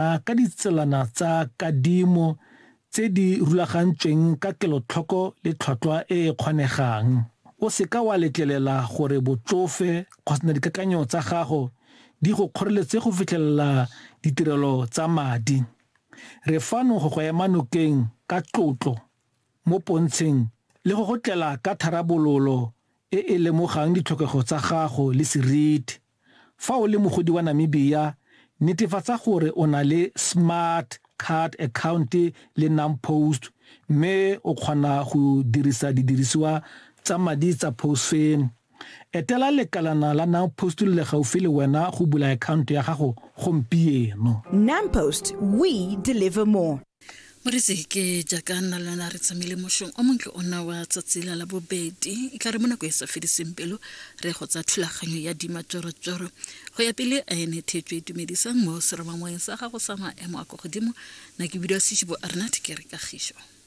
Ka ditselana tsa kadimo tse di rulagantsweng ka kelotlhoko le tlhwatlhwa e e kgonegang. O se ka wa letlelela gore botsofe kgotsa dikakanyo tsa gago di go kgoreletse go fitlhelela ditirelo tsa madi. Re fano go go ema nokeng ka tlotlo mo pontsheng le go go tlela ka tharabololo e e lemogang ditlhokego tsa gago le seriti. Fa o le mogodi wa Namibia, netefatsa gore o na le smart card account le NamPost mme o kgona go dirisa didirisiwa tsa madi tsa Postfin. Etela lekalana la NamPost le le gaufi le wena go bula akhaonto ya gago gompieno. NamPost, we deliver more. Moretsi ke jaaka nna le wena re tsamaile mošong o montle ona wa tsatsi la labobedi e tla re mo nako e sa fediseng pelo re go tsa thulaganyo ya dimatsorotsoro go ya pele a ene thetso e dumedisang mo seromamoweng sa gago sa maemo a kwa godimo na ke bidiwa seshibo arnat ke re kagišo.